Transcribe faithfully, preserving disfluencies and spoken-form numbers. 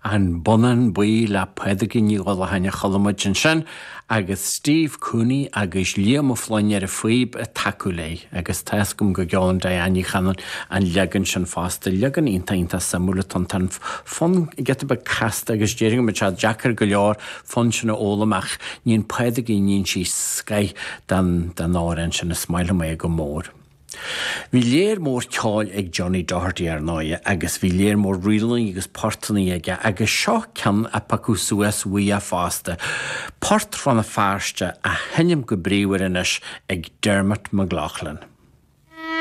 An Bonnán Buí le Pádraigín Ní Dhubhshláine a chuala muid ansin agus Steve Cooney agus Liam Ó Floinn ar an phíb ag tacú léi agus tá a fhios agam go gceolann Diane Ní Chanainn an leagan sin fosta, leagan iontach iontach suimiúil atá an fonn giota beag casta agus déarfainn go mbeadh sé deacair go leor fonn sin a fhoghlaim ach níonn Pádraigín níonn sí scoth den den amhrán sin is maith liom é go mór. Bhí léar mór ceoil ag Johnny Doherty ar ndóigh agus bhí léar mór ríleanna agus portanna aige agus seo ceann a piocadh suas uaidh fosta. Port Rann na Feirste á sheinm go bríomhar anois ag Dermot McLaughlin.